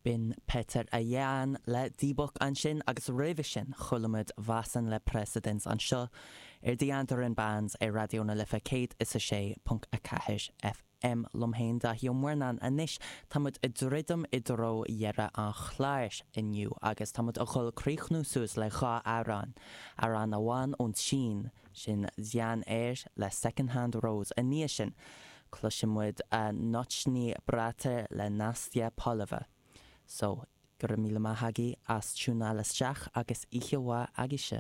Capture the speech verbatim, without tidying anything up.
B'in Petr a Yan le Dybbuk ansin agus roimhe sin chuala muid Vasen le Precedence anseo ar The Andaran Bands ar Raidió na Life céad is a sé ponc a ceathair FM liom féin Daithí Ó Murnáin anois tá muid ag druidim i dtreo dheireadh an chláir inniu agus tá muid a dhul críochnú suas le dhá amhrán amhrán amháin ón tSín sin Xian Er le Second Hand Rose i ndiaidh sin cloisfidh muid Nochny Braty le Nastya Poleva. So, go raibh míle maith agaibh as tiúnáil isteach agus oíche mhaith agaibhse.